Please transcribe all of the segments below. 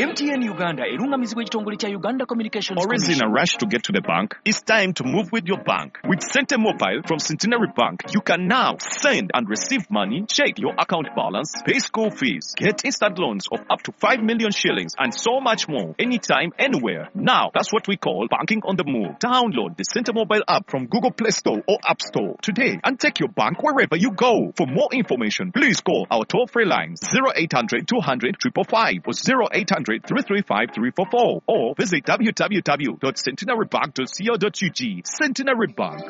MTN Uganda erungamizibwa ekitongole kya Uganda Communications Always in a Commission. rush to get to the bank? It's time to move with your bank. With Sente Mobile from Centenary Bank, you can now send and receive money, check your account balance, pay school fees, get instant loans of up to 5 million shillings, and so much more anytime, anywhere. Now, that's what we call banking on the move. Download the Sente Mobile app from Google Play Store or App Store today and take your bank wherever you go. For more information, please call our toll-free lines 0800 200 555 or 0800 335 344 or visit www.centenarybank.co.ug. Centenary Bank.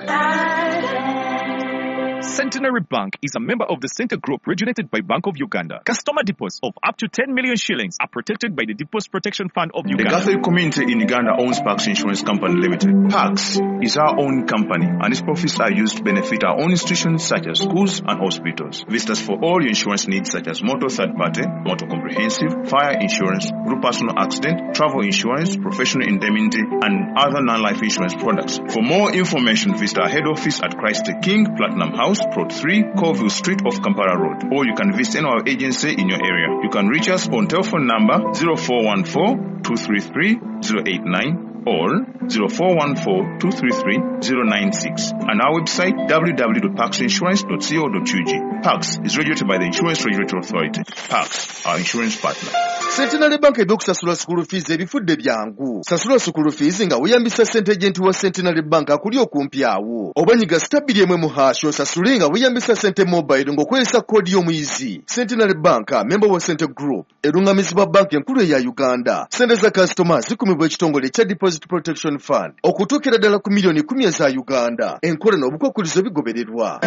Centenary Bank is a member of the Center Group regulated by Bank of Uganda. Customer deposits of up to 10 million shillings are protected by the Deposit Protection Fund of The Uganda. Catholic community in Uganda owns Pax Insurance Company Limited. Pax is our own company and its profits are used to benefit our own institutions such as schools and hospitals. Visit us for all your insurance needs such as motor third party, motor comprehensive, fire insurance, group personal accident, travel insurance, professional indemnity and other non-life insurance products. For more information, visit our head office at Christ the King, Platinum House, Plot 3, Colville Street off Kampala Road. Or you can visit any of our agency in your area. You can reach us on telephone number 0414 233 089 or 0414 233 096 and our website www.paxinsurance.co.ug. Pax is regulated by the Insurance Regulatory Authority. Pax, our insurance partner. Centenary Bank ebyokusasula school fees ebifudde byangu. Sasula school fees nga weeyambisa Sente Agent wa Centenary Bank akuli okumpi awo. Oba nyiga *2 #, osasule nga weeyambisa Sente Mobile ng'okozesa koodi y'omuyizi. Centenary Bank, member wa Sente Group, erungamizibwa banka enkulu eya Uganda. Sente za kasitoma zikumibwa ekitongole ekya Deposit Protection Fund okutuukira ddala ku miliyoni 10 eza Uganda. Enkola n'obukwakulizo bigobererwa.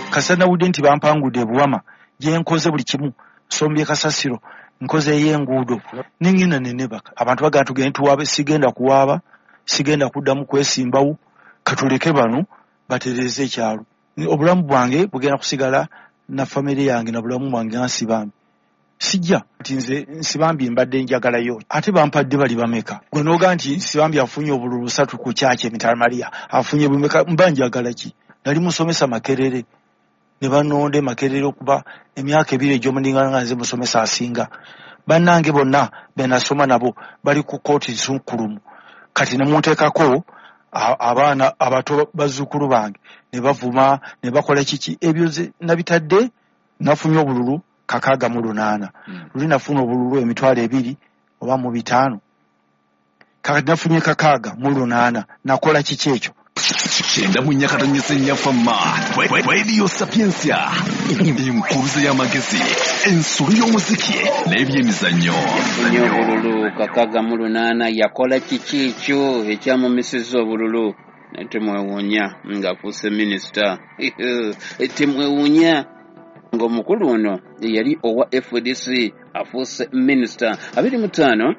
Kasita nawulidde nti bampangudde ebuwama gye nkoze buli kimu, sombye kasasiro, nkoze ey'enguudo, nengenda nenebaka. Abantu bagamba tugende tuwaabe, sigenda kuwaaba, sigenda kuddamu kwesimbawo, katuleke bano batereeze ekyalo. Obulamu bwange bugenda kusigala na famire yange na bulamu bwange nga Nsibambi. Sijja nti nze Nsibambi mbadde njagalayo, ate bampadde bali bameka? Gwe n'ogaa nti Nsibambi afunye obululu busatu ku kyaki emitala Maria afunye bumeka, mba njagala ki? Nali musomesa Makerere ne banonda e Makerere okuba emyaka 2 egy'omuningana nga nze musomesa asinga. Bannange bonna be nasoma nabo bali ku kooti nsukkulumu, kati ne munteekako abaana abato bazzukulu bange ne bavuma ne bakola kiki. Ebyo nze nabitadde. Nafunye obululu 68. Luli nafuna obululu 25,000 oba, kakati nafunye 68. Nakola kiki ekyo? 94.4 fama Radio Sapientia, enkuruze y'amagezi, ensolo y'omuziki n'ebyemizannyo. Yafunye obululu 68. Yakola kiki ekyo ekyamumisiza obululu? Naye temwewuunya ng'afuuse minisita, temwewuunya ng'omukulu ono eyali owa FDC afuuse minisita. 25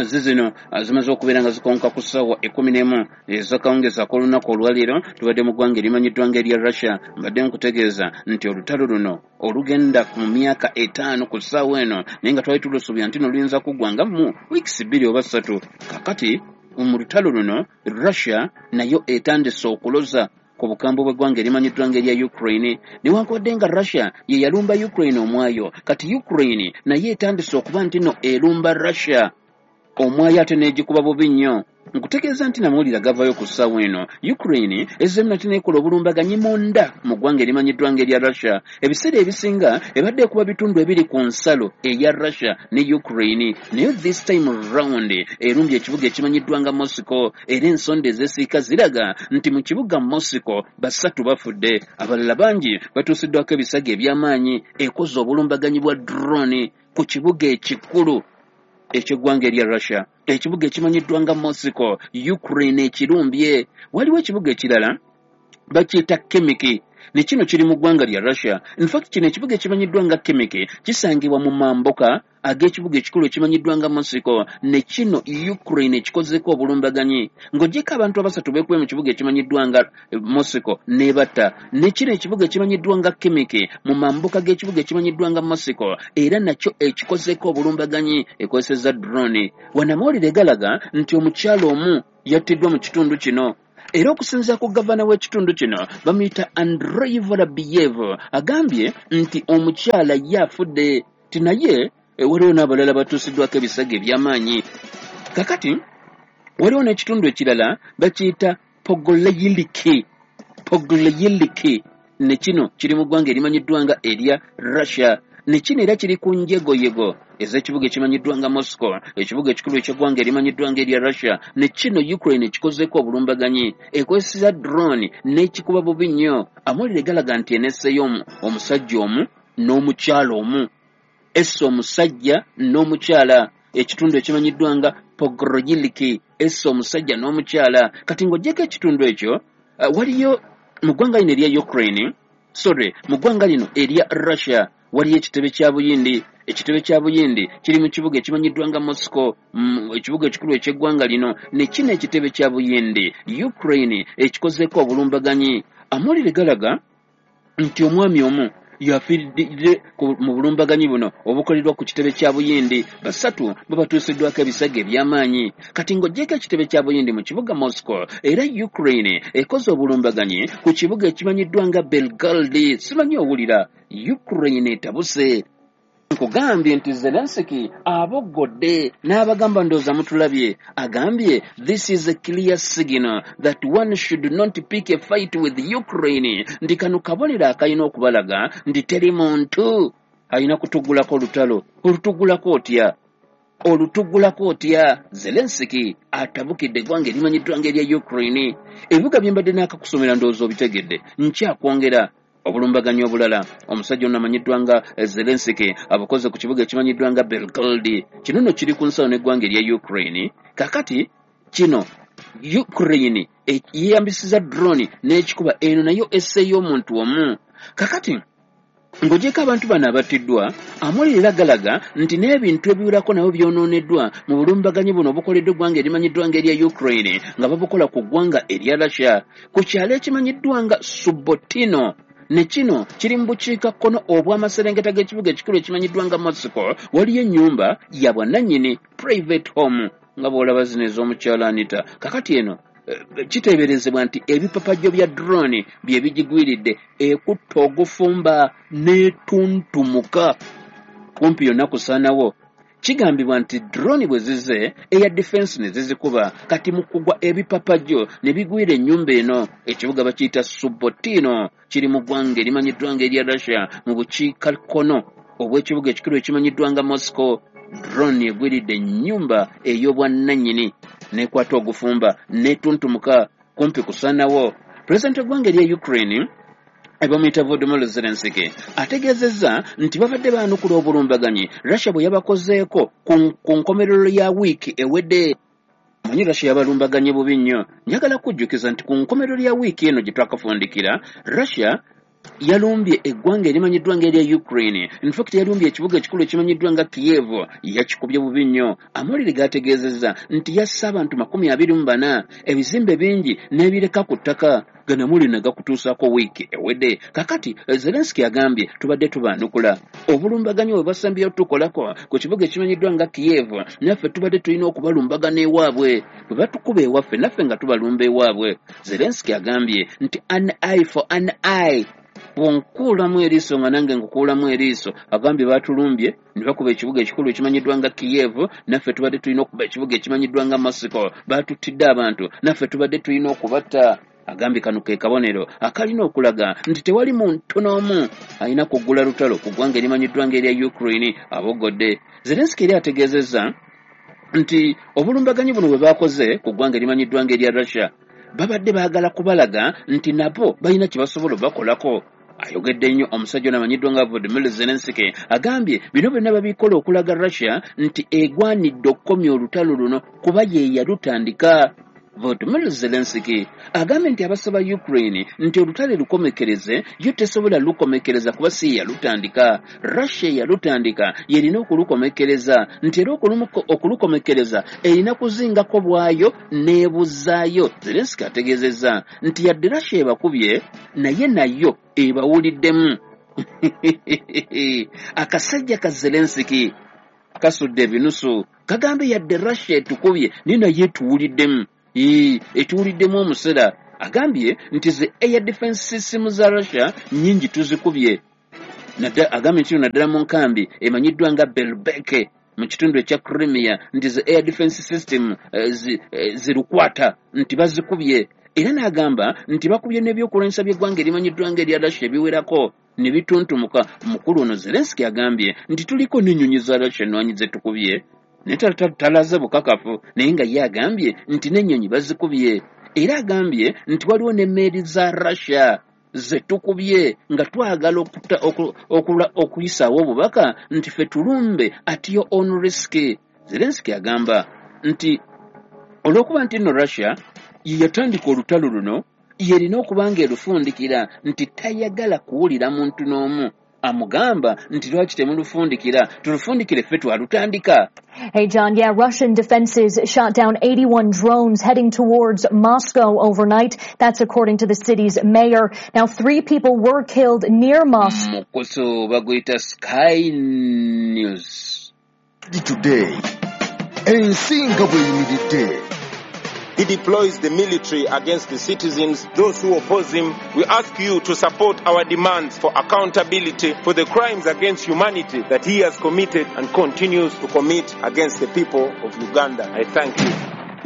zizino zimaze okubeera nga zikonka ku ssaawa 11 ez'akawungeezi ak'olunaku olwaleero. Tubadde mu ggwanga erimanyiddwa ng'erya Russia. Mbadde nkutegeeza nti olutalo luno olugenda mu myaka 5 ku ssaawa eno, naye nga twali tulusuubira nti no luyinza kuggwa nga mu wiikisi 2 oba 3. Kakati mu lutalo luno Russia nayo etandise okuloza ku bukambwe bw'eggwanga erimanyiddwa ng'erya Ukraine. Newankubadde nga Russia ye yalumba Ukraine omwayo, kati Ukraine naye etandise okuba nti no erumba Russia omwayo, ate n'egikuba bubi nnyo. Nkutegeeza nti namawulire agavayo ku ssaawa eno, Ukraine ezzeemu nate neekola obulumbaganyi munda mu ggwanga erimanyiddwa ng'erya Russia. Ebiseera ebisinga ebadde ekuba bitundu ebiri ku nsalo eya Russia ne Ukraine, naye this time round erumbye ekibuga ekimanyiddwa nga Moscow, era ensonda ezesiika ziraga nti mu kibuga Moscow basatu bafudde, abalala bangi batuusiddwako ebisago eby'amaanyi. Ekoze obulumbaganyi bwa drone ku kibuga ekikulu ekyeggwanga erya Russia, ekibuga ekimanyiddwa nga Moscow. Ukraine ekirumbye. Waliwo ekibuga ekirala bakiyita Khimki, ne kino kiri mu ggwanga lya Russia. Infact kino ekibuga ekimanyiddwa nga Khimki kisangibwa mu mambuka ag'ekibuga ekikulu ekimanyiddwa nga Moscow. Ne kino Ukraine ekikozeeko obulumbaganyi. Ng'ogyeko abantu abasatu beekube mu kibuga ekimanyiddwa nga Moscow n'ebatta, ne kino ekibuga ekimanyiddwa nga Khimki mu mambuka g'ekibuga ekimanyiddwa nga Moscow era nakyo ekikozeeko obulumbaganyi, ekozesezza drone. Wano amawulire galaga nti omukyala omu yattiddwa mu kitundu kino, era okusinziira ku gavana w'ekitundu kino bamuyita Andrei Vorobyev, agambye nti omukyala ye afudde, ti naye Waliwo n'abalala batuusiddwako ebisago eby'amaanyi. Kakati waliwo n'ekitundu ekirala bakiyita Pogoleyiliki. Pogoleyiliki ne kino kiri mu ggwanga erimanyiddwa nga erya Russia. Ne kino era kiri ku njegoyego ez'ekibuga ekimanyiddwa nga Moscow, ekibuga ekikulu eky'eggwanga erimanyiddwa nga erya Russia. Ne kino Ukraine ekikozeeko obulumbaganyi, ekozesa drone n'ekikuba bubi nnyo. Amawulire galaga nti enesseeyo omusajja omu n'omukyala omu, esse omusajja n'omukyala. Ekitundu ekimanyiddwa nga Pogoroyiliki esse omusajja n'omukyala. Kati ng'oggyeko ekitundu ekyo, waliyo mu ggwanga lino erya Ukraine, sorry, mu ggwanga lino erya Russia waliyo ekitebe kya Buyindi. Ekitebe kya Buyindi kiri mu kibuga ekimanyiddwa nga Moscow, ekibuga ekikulu eky'eggwanga lino. Ne kino ekitebe kya Buyindi Ukraine ekikozeeko obulumbaganyi. Amawulire galaga nti omwami omu yafiiridde mu bulumbaganyi buno obukoleddwa ku kitebe kya Buyindi. 3 babatuusiddwako ebisago eby'amaanyi. Kati ng'oggyeko ekitebe kya Buyindi mu kibuga Moscow, era Ukraine ekoze obulumbaganyi ku kibuga ekimanyiddwa nga Belgorod. Simanyi owulira, Ukraine etabuse. Nkugambye nti Zelensky aboggodde n'abagamba, ndowooza mutulabye. Agambye this is a clear signal that one should not pick a fight with Ukraine. Nti kano kabonero akalina okubalaga nti teri muntu alina kutugulako olutalo. Olutugulako otya? Olutugulako otya? Zelensky atabukidde eggwanga erimanyiddwa ng'erya Ukraine. Ebibuga bye mbadde naakakusomera ndowooza obitegedde. Nkyakwongera obulumbaganyi obulala. Omusajja ono amanyiddwa nga Zelensky abukoze ku kibuga ekimanyiddwa nga Belgorod. Kino nno kiri ku nsalo n'eggwanga erya Ukraine. Kakati kino Ukraine yeeyambisiza drone n'ekikuba eno nayo esseeyo omuntu omu. Kakati ng'ogyeko abantu bano abattiddwa, amawulire era galaga nti n'ebintu ebiwerako nabo byonooneddwa mu bulumbaganyi buno obukoleddwa eggwanga erimanyiddwa ng'erya Ukraine nga babukola ku ggwanga erya Russia ku kyalo ekimanyiddwa nga Subotino. Ne kino kiri mu bukiikakkono obw'amaserengeta g'ekibuga ekikulu ekimanyiddwa nga Moscow. Waliyo ennyumba ya bwannannyini, private home, nga bw'olaba zino ez'omukyala Anita. Kakati eno kiteeberezebwa nti ebipapajjo bya drone bye bigigwiridde, ekutta ogufumba n'etuntumuka kumpi yonna kusaanawo. Kigambibwa nti drone bwe zize air defense ne zizikuba, kati mu kugwa ebipapajjo ne bigwira ennyumba eno. Ekibuga bakiyita Subotino, kiri mu ggwanga erimanyiddwa nga erya Russia mu bukiikakkono obw'ekibuga ekikulu ekimanyiddwa nga Moscow. Drone egwiridde ennyumba ey'obwannannyini n'ekwata ogufumba n'etuntumuka kumpi kusaanawo. Pulezidenti w'eggwanga erya Ukraine bamuyita Volodymyr Zelensky ategeezezza nti babadde baanukula obulumbaganyi Russia bwe yabakozeeko ku nkomerero ya wiiki ewedde. Omanyi Russia yabalumbaganye bubi nnyo. Njagala kujjukiza nti ku nkomerero ya wiiki eno gye twakafundikira, Russia yalumbye eggwanga erimanyiddwa ng'erya Ukraine. In fact yalumbye ekibuga ekikulu ekimanyiddwa nga Kiev, yakikubye bubi nnyo. Amawulire gaategeezezza nti yasse abantu 24, ebizimbe bingi n'ebireka ku ttaka. Gano amawulire ne gakutuusaako wiiki ewedde. Kakati Zelensky agambye tubadde tubaanukula obulumbaganyi bwe basembyeyo tukolako ku kibuga ekimanyiddwa nga Kiev, naffe tubadde tulina okubalumbagana ewaabwe. Bwe batukuba ewaffe naffe nga tubalumba ewaabwe. Zelensky agambye nti an eye for an eye, bw'onkuulamu eriiso nga nange nkukuulamu eriiso. Agambye baatulumbye ne bakuba ekibuga ekikulu ekimanyiddwa nga Kiev, naffe tubadde tulina okuba ekibuga ekimanyiddwa nga Moscow. Baatuttidde abantu, naffe tubadde tulina okubatta. Agambye kano ke kabonero akalina okulaga nti tewali muntu n'omu alina kuggula lutalo ku ggwanga erimanyiddwa ng'erya Ukraine. Abogodde. Zelensky eri ategeezezza nti obulumbaganyi buno bwe baakoze ku ggwanga erimanyiddwa ng'erya Russia babadde baagala kubalaga nti nabo balina kye basobola obakolako. Ayogedde nnyo omusajja ono amanyiddwa nga Volodymyr Zelensky. Agambye bino byonna babikola okulaga Russia nti egwanidde okukomya olutalo luno kuba ye yalutandika. Volodymyr Zelensky agambye nti abasaba Ukraine nti olutalo lukomekereze, yo tesobola lukomekereza kuba si ye yalutandika. Russia yalutandika, yerina okulukomekereza, nti era okulukomekereza erina kuzingako bwayo n'ebuzaayo. Zelensky ategeezezza nti yadde Russia ebakubye naye nayo ebawuliddemu. Akasajja ka Zelensky kasudde ebinusu, kagambe yadde Russia etukubye naye naye etuwuliddemu. Etuwuliddemu omusera. Agambye nti ze air defense system za Russia nnyingi tuzikubye. Agambye nti naddala mu nkambi emanyiddwa nga Belbeke mu kitundu ekya Crimea nti zi air defense system zirukwata nti bazikubye. Era n'agamba nti bakubye n'ebyokulwanyisa by'eggwanga erimanyiddwa nga erya Russia ebiwerako ne bituntumuka. Mukulu ono Zelensky agambye nti tuliko n'ennyonyi za Russia ennwanyi ze tukubye, naye talaze bukakafu, naye nga ye agambye nti n'ennyonyi bazikubye. Era agambye nti waliwo n'emmeeri za Russia ze tukubye nga twagala okuyisaawo obubaka nti ffe tulumbe at your own risk. Zelensky agamba nti olw'okuba nti nno Russia ye yatandika olutalo luno, yerina okuba nga erufundikira, nti tayagala kuwulira muntu n'omu amugamba nti lwaki temulufundikira, tulufundikire ffe twalutandika. Hey, John. Yeah, Russian defenses shot down 81 drones heading towards Moscow overnight. That's according to the city's mayor. Now, 3 people were killed near Moscow. Mukutu baguyita Sky News. Today, ensi nga bw'eyimiridde. He deploys the military against the citizens, those who oppose him. We ask you to support our demands for accountability for the crimes against humanity that he has committed and continues to commit against the people of Uganda. I thank you.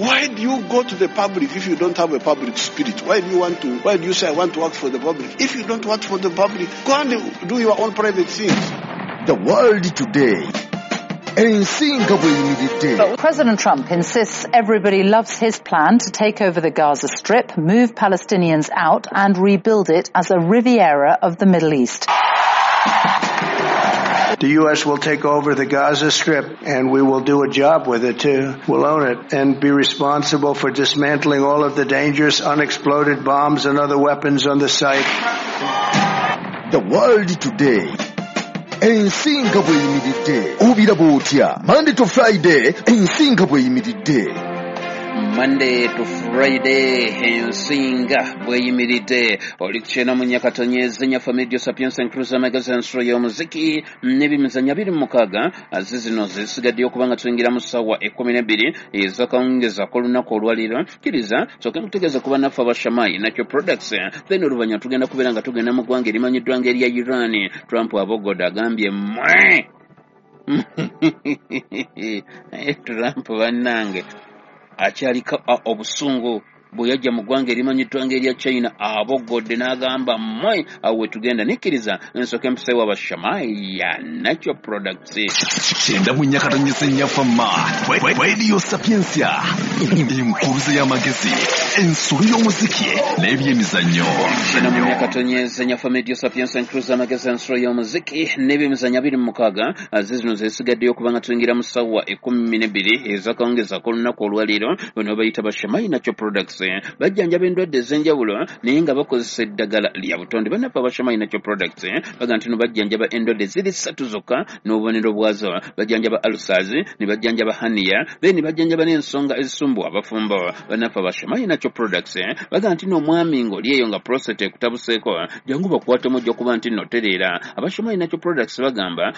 Why do you go to the public if you don't have a public spirit? Why do you want to? Why do you say I want to work for the public? If you don't work for the public, go and do your own private things. The World Today. Ensi nga bw'eyimiridde. But President Trump insists everybody loves his plan to take over the Gaza Strip, move Palestinians out and rebuild it as a Riviera of the Middle East. The U.S. will take over the Gaza Strip, and we will do a job with it, too. We'll own it and be responsible for dismantling all of the dangerous unexploded bombs and other weapons on the site. The World Today. Ensi nga bw'eyimiridde. Obiraba otya? Monday to Friday, ensi nga bw'eyimiridde. Monday to Friday, ensi nga bw'eyimiridde. Oli ku kyenda mu nnya katonyezi nnya Family Sapiens and Cruiser Magazine, nsolo y'omuziki n'ebimizanyo 26. Zino zisigaddeyo okuba nga tuyingira mu ssaawa 12 ez'akawungeezi ak'olunaku olwaleero. Kkiriza nsooke nkutegeeza kuba naffe abashamayi Nakyo Products, then oluvannyuma tugenda kubeera nga tugenda mu ggwanga erimanyiddwa nga erya Iran. Trump abogoda agambye mmwe. Trump bannange akyaliko obusungu bwe yajja mu ggwanga erimanyiddwa ng'erya China, abogodde n'agamba mmwe. Awo we tugenda. Nikkiriza nsooke mpiseewo abashamayi ya Nakyo Products. 94.4 Fama Radio Sapientia, enkuruze y'amagezi, ensolo y'omuziki n'ebyemizannyo. 94.4 Fama Radio Sapientia, enkuruze y'amagezi, ensolo y'omuziki n'ebyemizannyo 26. Zino zesigaddeyo okuba nga tuyingira mu ssaawa 12 ez'akawungeezi ak'olunaku olwaleero. Bano bayita bashamayi Nakyo Products, bajjanjaba endwadde ez'enjawulo naye nga bakozesa eddagala lya butonde. Bannaffe abashamayi Nakyo Products bagamba nti no bajjanjaba endwadde ziri 3 zokka n'obubonero bwazo. Bajjanjaba ulcers, ne bajjanjaba hernia, then ne bajjanjaba n'ensonga ezisumbuwa abafumbo. Bannaffe abashamayi Nakyo Products bagamba nti n'omwami ng'oli eyo nga prostate ekutabuseeko, jangu bakwatemu, ojja kuba nti nno tereera. Abashamayi Nakyo Products bagamba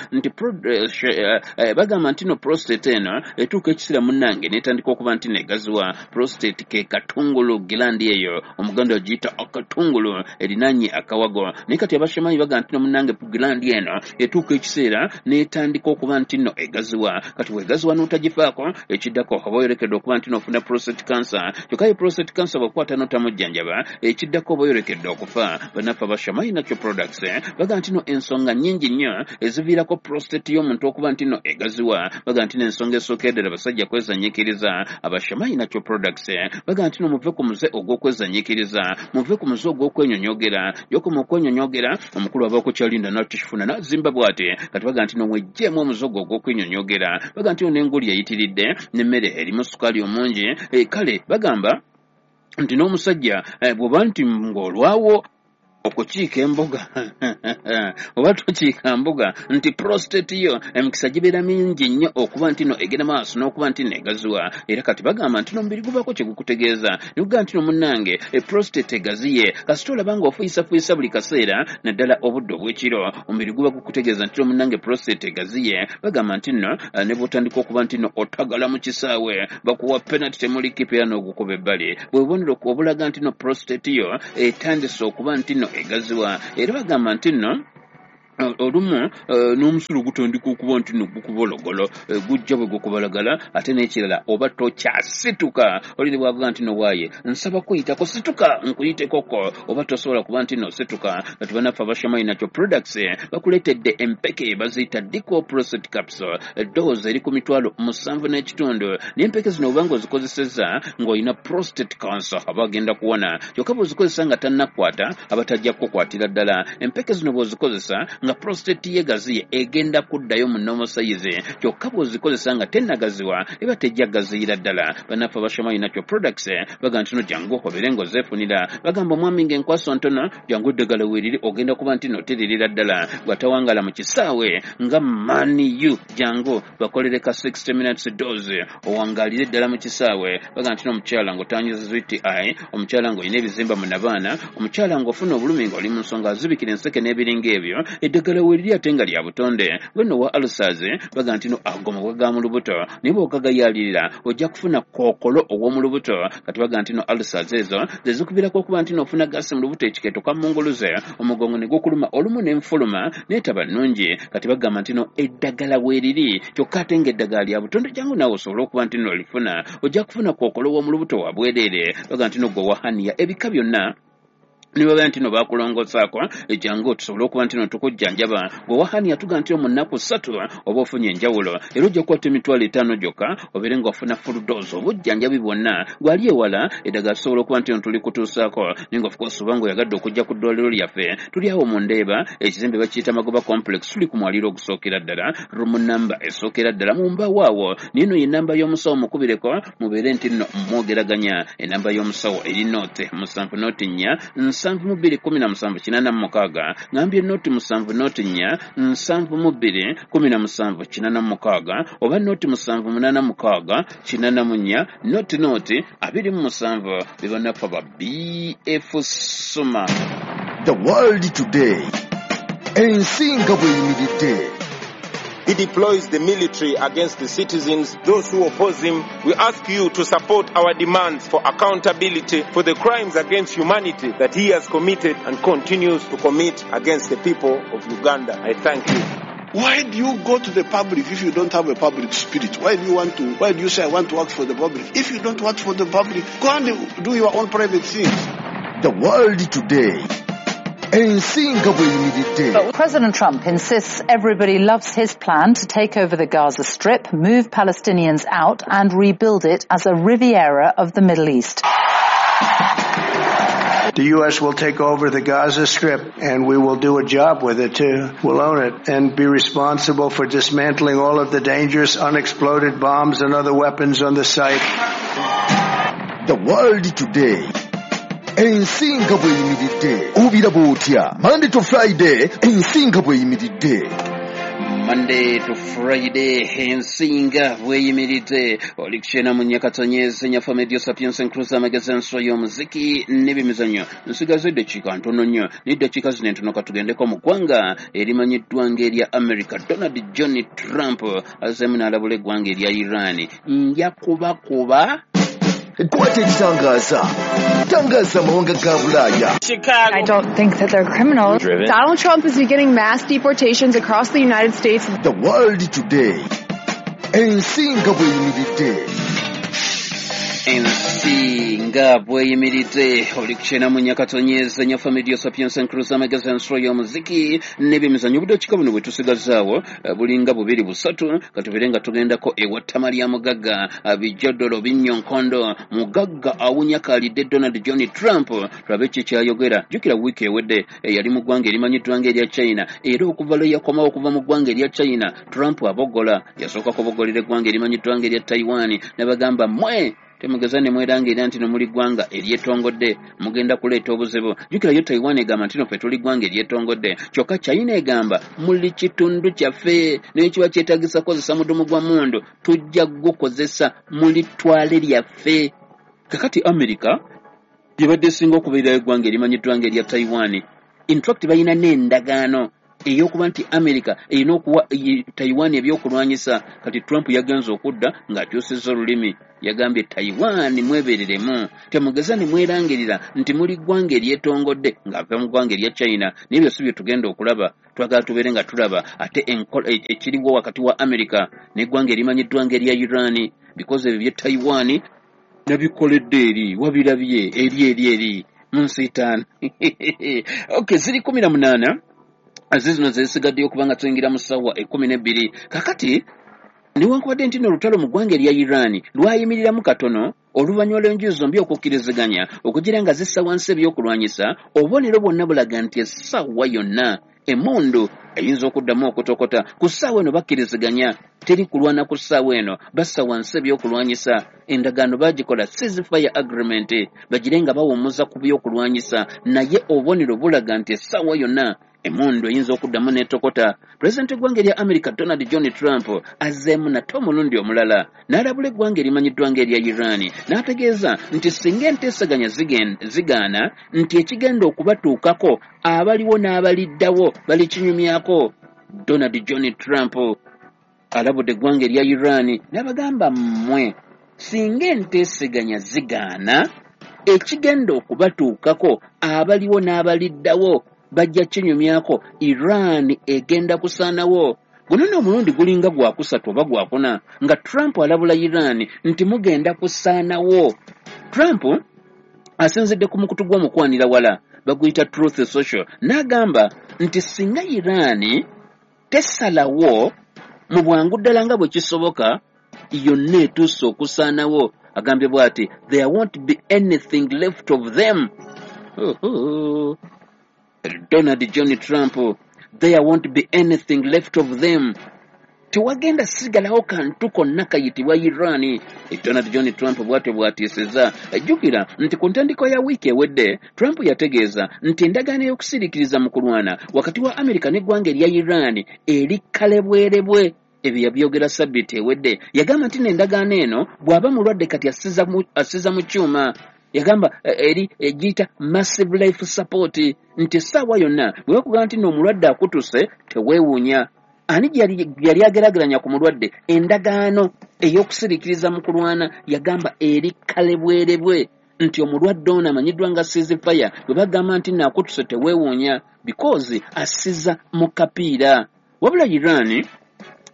nti no prostate eno etuuka ekiseera munnange n'etandika okuba nti negaziwa. Prostate ke katungulu, gland eyo omuganda agiyita akatungulu erinanye akawago. Naye kati abashamayi bagamba nti no munnange gland eno etuuka ekiseera n'etandika okuba nti nno egaziwa. Kati bw'egaziwa n'otagifaako, ekiddako oba oyolekedde okuba nti n'ofuna prostate cancer. Kyokka ye prostate cancer bw'okwata n'otamujjanjaba, ekiddako oba oyolekedde okufa. Bannaffe abashamayi Nakyo Products bagamba nti no ensonga nnyingi nnyo eziviirako prostate y'omuntu okuba nti no egaziwa. Bagamba nti n'ensonga esooka eddala basajja kwezanyiikiriza. Abashamayi Nakyo Products bagamba nti no muve ku muze ogw'okwezanyiikiriza, muve ku muze ogw'okwenyonyogera. Gy'okoma okwenyonyogera, omukulu aba okukyalinda n'atakifuna n'azimba bw'ati. Kati bagamba nti no mweggyemu omuze ogwo ogw'okwenyonyogera. Bagamba nti no n'enguli eyitiridde n'emmere erimu sukaali omungi. Kale bagamba nti n'omusajja bw'oba nti ng'olwawo okukiika emboga oba tokiika mboga, nti prostate yo emikisa gibeera mingi nnyo okuba nti no egenda maaso n'okuba nti negaziwa. Era kati bagamba nti n'omubiri gubaako kye gukutegeeza, ne gugamba nti no munnange prostate egaziye. Kasita olaba ng'ofuyisafuyisa buli kaseera naddala obudde obw'ekiro, omubiri guba gukutegeeza nti no munnange prostate egaziye. Bagamba nti nno ne bw'otandika okuba nti no otagala mu kisaawe, bakuwa penalty temuli kipa era n'ogukuba ebbali, bwe bubonero obulaga nti no prostate yo etandise okuba nti no egaziwa. Era bagamba nti nno Olumu n'omusulo gutandika okuba nti no gukubologolo, gujja bwe gukubalagala. Ate n'ekirala, oba tokyasituka, oli ne bwavuga nti no waaye nsaba kuyitako, situka nkuyitekoko, oba tosobola kuba nti no situka. Kati banaffe abashamai Natural Products bakuleetedde empeke baziyita Dico Prostate Capsule. Dose eri ku 75,000, naye empeke zino obanga ozikozesezza ng'olina prostate cancer aba agenda kuwona, kyokka bw'ozikozesa nga tannakwata aba tajja kukukwatira ddala. Empeke zino bw'ozikozesa nga prostate ye gaziye, egenda kuddayo mu normal size, kyokka bw'ozikozesa nga tennagaziwa eba tejja gaziyira ddala. Bannaffe abashamai Natural Products bagamba nti no jangu obeere ng'ozeefunira. Bagamba omwami ng'enkwaso ntono, jangu eddagala weeriri, ogenda kuba nti no teririra ddala. Bw'atawangala mu kisaawe nga Man U, jangu bakolere ka 60 minutes dose, owangaalire ddala mu kisaawe. Bagamba nti n'omukyala ng'otanyiza UTI, omukyala ng'olina ebizimba mu nabaana, omukyala ng'ofuna obulumi ng'oli mu nsonga azibikira enseke n'ebiringa ebyo, eddagala weeriri ate nga lya butonde. Gwenno wa ulcers, bagamba nti no ago mabwa ga mu lubuto, naye bw'ogagayaalirira ojja kufuna kookolo ow'omu lubuto. Kati bagamba nti no ulcers ezo ze zikubirako okuba nti n'ofuna gaasi mu lubuto, ekikeeto kammunguluze, omugongo ne gukuluma olumu n'enfuluma neetaba nnungi. Kati bagamba nti no eddagala weeriri, kyokka ate ng'eddagala lya butonde, jangu naawe osobole okuba nti no olifuna, ojja kufuna kookolo w'omu lubuto wa bwereere. Bagamba nti no gwe wa hernia ebika byonna ne babeera nti no bakulongosaako, jangu tusobole okuba nti no tukujjanjaba. Gwe wa hernia tuga nti mu nnaku 3 oba ofunye enjawulo, era ojja kukwata 50,000 gyokka obeere ng'ofuna full dose, obujjanjabi bwonna. Gwali ewala, eddagala tusobola okuba nti no tuli kutuusaako, naye nga of course oba ng'oyagadde okujja ku ddwaliro lyaffe, tuli awo mu Ndeeba, ekizimbe bakiyita Magoba Complex, tuli ku mwaliro ogusookera ddala, room namba esookera ddala mu mbaawo awo. Naye eno ye namba y'omusawo, mukubireko mubeere nti nno mwogeraganya. Enamba y'omusawo eri 0 7 0 4 72 17 86. Ngambye 0 7 0 4 72 17 86, oba 0 7 8 6 84 0 0 27. Bebanaffe ba BF Suma. The World Today, ensi nga bw'eyimiridde. He deploys the military against the citizens, those who oppose him. We ask you to support our demands for accountability for the crimes against humanity that he has committed and continues to commit against the people of Uganda. I thank you. Why do you go to the public if you don't have a public spirit? Why do you want to, why do you say I want to work for the public? If you don't work for the public, go and do your own private things. The World Today, ensi nga bw'eyimiridde. President Trump insists everybody loves his plan to take over the Gaza Strip, move Palestinians out and rebuild it as a Riviera of the Middle East. The U.S. will take over the Gaza Strip and we will do a job with it too. We'll own it and be responsible for dismantling all of the dangerous unexploded bombs and other weapons on the site. The World Today, ensi nga bw'eyimiridde, obiraba otya? Monday to Friday, ensi nga bw'eyimiridde. Monday to Friday, ensinga bweyimiridde, oli kukyena mu nyakatonyezi nyafa Medio Sapiens Encruise, amagezi, enswa y'omuziki n'ebimizannyo. Nsigaze eddakiika ntono nnyo, naye eddakiika zino entono katugendeko mu ggwanga erimanyiddwa ng'erya America. Donald John Trump azzeemu n'alabula eggwanga erya Iran, nja kubakuba. Kwata ekitangaaza, tangaza amawanga ga Bulaaya. I don't think that they're criminals. Donald Trump is beginning mass deportations across the United States. The World Today, ensi nga bw'eyimiridde. Ensi nga bweyimiridde, oli kukyena mu nyakatonyeza nyafa Medio Sapiens Encruise, amagezi, ensolo y'omuziki n'ebyemizannyo. Obudakiika buno bwe tusigazaawo bulinga bubiri busatu, katubeere nga tugendako ewattama lya mugagga bijodolo binnyo nkondo. Mugagga awunya kaalidde Donald John Trump, tulabe ki kyayogera. Jjukira wiiki ewedde yali mu ggwanga erimanyiddwa ng'erya China, era okuva lwe yakomawo okuva mu ggwanga erya China, Trump aboggola. Yasooka kuboggolera eggwanga erimanyiddwa ng'erya Taiwan, n'abagamba, mmwe temugeza ne mwerangira nti no muli ggwanga eryetongodde, mugenda kuleeta obuzibu. Jjukirayo Taiwan egamba nti no ffe tuli ggwanga eryetongodde, kyokka China egamba muli kitundu kyaffe, naye kiba kyetagisa kukozesa mudumu gwa mundu tujja gukozesa, muli ttwale lyaffe. Kakati America gyebadde esinga okubeererayo eggwanga erimanyiddwa ng'erya Taiwan. In fact balina n'endagaano ey'okuba nti America erina okuwa Taiwan ebyokulwanyisa. Kati Trump yagenze okudda ng'akyusizza olulimi, yagambye Taiwan mwebereremu, temugeza ne mwerangirira nti muli ggwanga eryetongodde ng'ava mu ggwanga erya China. N'ebyo si bye tugenda okulaba, twagala tubeere nga tulaba ate ekiriwo wakati wa America n'eggwanga erimanyiddwa ng'erya Iran, because ebyo bye Taiwan nabikoledde eri wabirabye eri eri eri mu nsi ttaano. Okay, ziri 18 zizino zesigaddeyo okuba nga tuyingira mu ssaawa 12. Kakati newankubadde nti nno olutalo mu ggwanga erya Iran lwayimiriramu katono oluvannyuma lw'enjuyi zombi okukkiriziganya okugira nga zissa wansi ebyokulwanyisa, obubonero bwonna bulaga nti essaawa yonna emmundu eyinza okuddamu okutokota. Ku ssaawa eno bakkiriziganya teri kulwana, ku ssaawa eno bassa wansi ebyokulwanyisa, endagaano baagikola ceasefire agreement, bagire nga bawummuza ku byokulwanyisa, naye obubonero bulaga nti essaawa yonna emmundu eyinza okuddamu n'etokota. Pulezidenti w'eggwanga erya America Donald John Trump azzeemu nate omulundi omulala n'alabula eggwanga erimanyiddwa ng'erya Iran, n'ategeeza nti singa enteeseganya zigaana nti ekigenda okubatuukako abaliwo n'abaliddawo balikinyumyako. Donald John Trump alabudde eggwanga erya Iran n'abagamba, mmwe singa enteeseganya zigaana ekigenda okubatuukako abaliwo n'abaliddawo bajja kinyumyako, Iran egenda kusaanawo. Guno nno omulundi gulinga gwakusatu oba gwakuna nga Trump alabula Iran nti mugenda kusaanawo. Trump asinzidde ku mukutu gw'omukwanira wala baguyita Truth Social, n'agamba nti singa Iran tesalawo mu bwangu ddala nga bwe kisoboka yonna etuuse okusaanawo. Agambye bw'ati, there won't be anything left of them. Donald John Trump, there won't be anything left of them, tewagenda sigalawo kantu konna kayitibwa Iran. Donald John Trump bw'atyo bw'atiisizza. Jjukira nti ku ntandikwa ya wiiki ewedde Trump yategeeza nti endagaano ey'okusiriikiriza mu kulwana wakati wa Amerika n'eggwanga erya Iran eri kalebwerebwe. Ebyo yabyogera sabbiiti ewedde. Yagamba nti n'endagaano eno bw'aba mulwadde kati assiza mu kyuma, yagamba eri egiyita massive life support, nti essaawa yonna bwe bakugamba nti n'omulwadde akutuse teweewuunya. Ani gye yali ageraageranya ku mulwadde? Endagaano ey'okusiriikiriza mu kulwana yagamba eri kalebwerebwe, nti omulwadde ono amanyiddwa nga ceasefire bwe bagamba nti naakutuse teweewuunya because assiza mu kapiira. Wabula Iran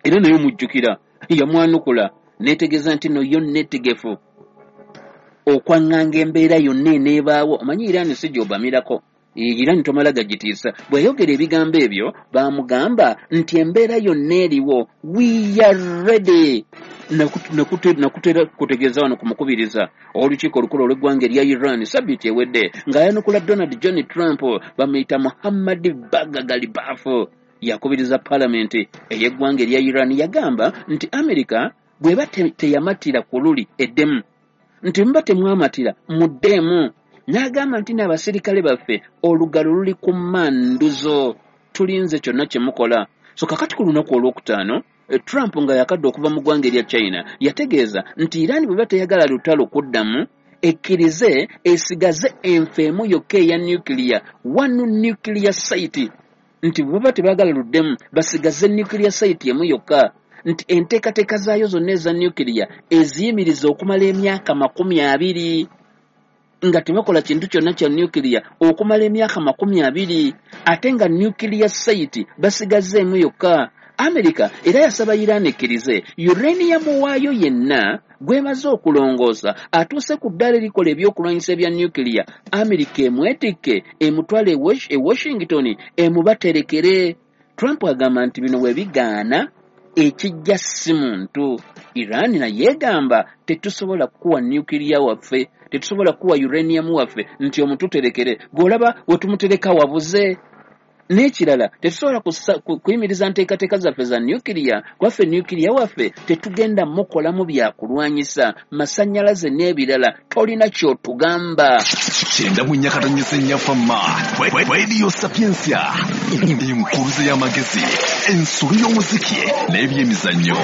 era nayo mujjukira yamwanukula n'etegeeza nti no yo neetegefu okwaŋŋanga embeera yonna eneebaawo. Omanyi Iran si gy'obamirako, Iran tomala gagitiisa. Bwe yayogera ebigambo ebyo baamugamba nti embeera yonna eriwo, we are ready. Nakutera kutegeeza wano ku mukubiriza olukiiko olukulu olw'eggwanga erya Iran sabbiiti ewedde ng'ayanukula Donald John Trump, bamuyita Muhammad Bagher Ghalibaf, yakubiriza paalamenti ey'eggwanga erya Iran. Yagamba nti America bw'eba teyamatira ku luli eddemu, nti muba temwamatira muddeemu. N'agamba nti n'abasirikale baffe olugalo luli ku mmanduzo, tulinze kyonna kye mukola. So kakati ku lunaku olwokutaano Trump nga yakadde okuva mu ggwanga erya China yategeeza nti Iran bw'eba teyagala lutalo kuddamu ekkirize esigaze enfo emu yokka eya nuclear, one nuclear site, nti bwe baba tebaagala luddemu basigaze nuclear site emu yokka, nti enteekateeka zaayo zonna eza nuclear eziyimiriza okumala emyaka 20 nga tebakola kintu kyonna kya nuclear okumala emyaka 20, ate nga nuclear site basigazeemu yokka. America era yasaba Iran ekkirize uranium waayo yenna gwemaze okulongoosa atuuse ku ddaala erikola ebyokulwanyisa ebya nuclear, America emwetikke emutwale e Washington emubaterekere. Trump agamba nti bino bwe bigaana ekijja si muntu. Iran naye egamba tetusobola kukuwa nuclear waffe, tetusobola kukuwa uranium waffe nti omututerekere, gw'olaba we tumutereka wabuze. N'ekirala tetusobola kuyimiriza nteekateeka zaffe za nuclear, kwaffe nuclear waffe tetugenda mukolamu byakulwanyisa masannyalaze n'ebirala, tolina ky'otugamba. 94.4 Fama Radio Sapientia, enkuluze y'amagezi, ensulu y'omuziki n'ebyemizannyo.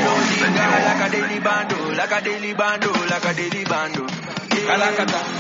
Kalakata.